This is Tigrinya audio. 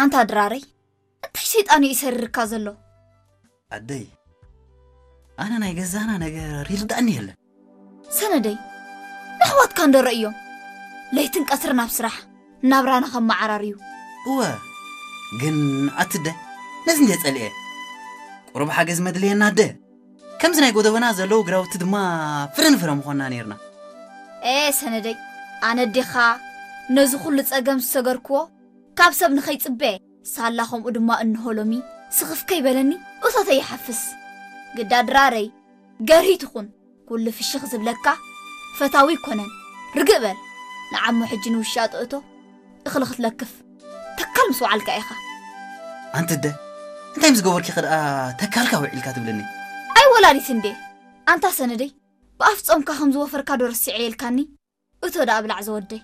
ኣንታ ድራረይ፣ እንታይ ሰይጣን እዩ ይሰርርካ ዘሎ? ኣደይ፣ ኣነ ናይ ገዛና ነገር ይርዳእኒ የለን። ሰነደይ፣ ንኣሕዋትካ እንዶ ረእዮም። ለይትን ቀትርን ኣብ ስራሕ ናብራና ከመዓራርዩ። እወ፣ ግን ኣትደ፣ ነዚ እንደ ጸልኤ። ቁሩብ ሓገዝ መድልየና ኣደ። ከምዚ ናይ ጎደቦና ዘለዉ ግራውቲ ድማ ፍረ ንፍረ ምኾንና ነይርና። ኤ ሰነደይ፣ ኣነ ኣዴኻ ነዚ ኩሉ ጸገም ዝሰገርክዎ ካብ ሰብ ንኸይጽበ፣ ሳላ ከምኡ ድማ እንሆ ሎሚ ስኽፍ ከይበለኒ እቶተይ ይሓፍስ። ግዳ ድራረይ፣ ገርሂ ትኹን፣ ኩሉ ፍሽኽ ዝብለካ ፈታዊ ይኮነን። ርግእ በል፣ ንዓሞ ሕጂ ንውሻጦ እቶ እኽሊ ክትለክፍ ተካል ምስ ወዓልካ ኢኻ። ኣንቲ ኣደ፣ እንታይ ምስ ገበርኪ ከ ደኣ ተካልካ ውዒልካ ትብልኒ? ኣይ ወላዲት እንዴ፣ ኣንታ ሰነደይ፣ ብኣፍ ጾምካ ከም ዝወፈርካ ዶ ረሲዐ የልካኒ? እቶ ደኣ ብላዕ ዘወደይ።